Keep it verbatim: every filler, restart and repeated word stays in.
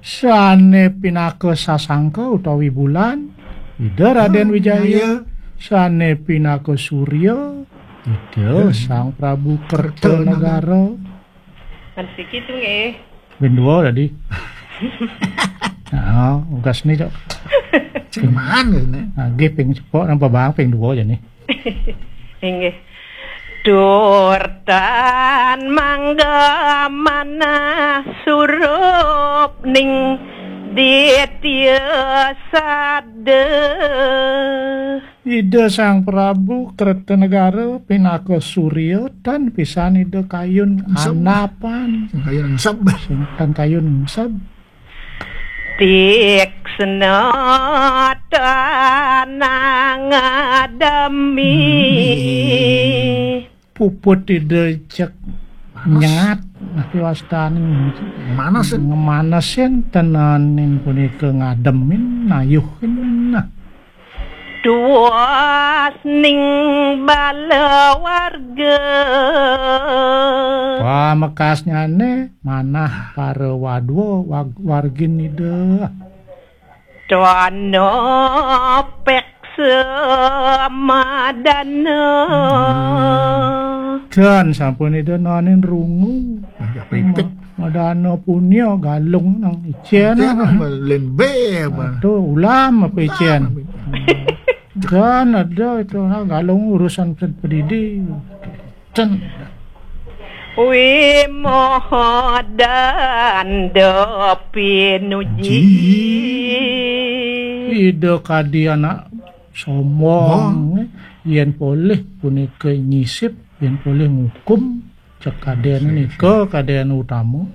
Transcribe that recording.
Sane pinaka sasangka utawi bulan, Ida Raden Wijaya. Sane pinaka surya, Ida Sang Prabu Kertanagara. Kan siki tu nggih. Ping dua tadi. Nah, ugas ni, Cok. Cing man, nggih, ni. Nah, nggih, ping sepok napa bang, ping dua aja ni. Inggih. Durtan mangga manah surup ning ditya sada. Ida Sang Prabu Kertanegara pinaka surya tan pisan Ida kayun anapan. Sing kayun engseb. Sing tan kayun engseb. Tiksna tanang ademi. Puput Ida cek nyat, napi wastane? Ngemanesin. Ngemanesin tenanin punika ngademin, nayuhin. Nah. Tuas ning bala warga. Pamekasnyane manah para wadwa wag-, wargin Ida. Tono peksa madana. Dan sampun Ida nanin rungu. Agak pipit. Ma-, madana punya galung nang icen. Icen apa? Lembe apa? Aduh, ulam apa icen? Ulam apa? Dan ada itu, ha, galung urusan pedidi. Ten. Wimoho danda pinuji. Ida kadi anak sombong, yen polih punika nyisip, yen polih ngukum, cek kaden nika kaden utama.